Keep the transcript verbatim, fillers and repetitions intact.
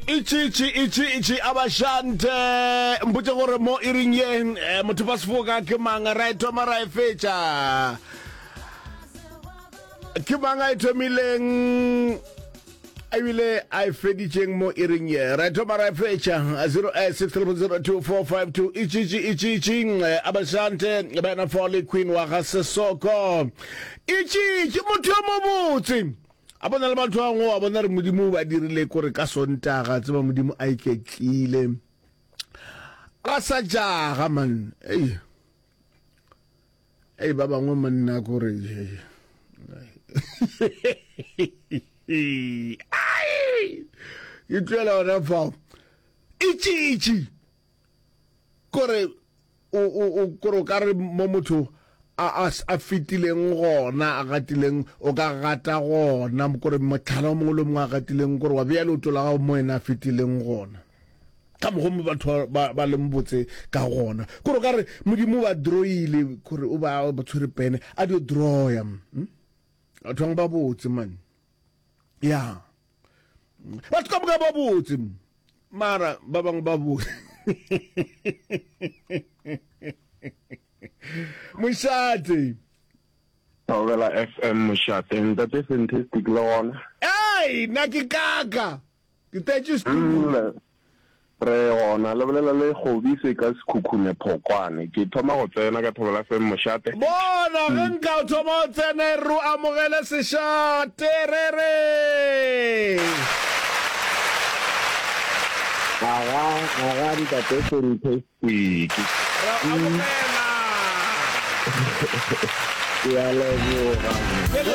Itšitši, itšitši, abashante. Mpotše gore mo iring ye eh, motho ba sefoka ke mang, ra e thoma ra e fetša. Ke mang a e thomileng ebile a e feditšeng mo iring ye? Ra e thoma ra e fetša. zero eight six three zero two four five two. Itšitši, itšitši, eh, abashante, bena Foley Queen wa ga Sesoko. Itšitši, motho yo mobotse. A bona le batho ba bangwe wa bona re Modimo o ba dirile kore ka Sontaga tseba Modimo a iketlile a sa jaga man. Ei ei ba bangwe monna kore ai ke tloela gona fao. Itšitši kore o o o kore o ka re mo motho a a a fetileng gona a gatileng o ka gata gona kore mohlala o mongwe le o mongwe a gatileng kore wa bea leoto la gago mo yena a fetileng gona ka mokgwa mo batho ba ba leng botse ka gona kore o ka re Modimo o ba drawile kore o ba ba tshwere pene a dio drawya hm? Batho bangwe ba botse man ya batho ka moka ba botse mara ba bangwe ba botse. Mošate. Thobela F M Mošate, ntate Fantastic le gona. Ei, nna ke kaka. Ke tetše studio. Mm, re gona, le bolela le Kgobise ka Sekhukhune Phokwane. Ke thoma go tsena ka Thobela F M Mošate. Bona, ge nka o thoma o tsena e re o amogele sešate, re re. Aga, aga ntate Fantastic. Re amogela. Ke a leboga. Ke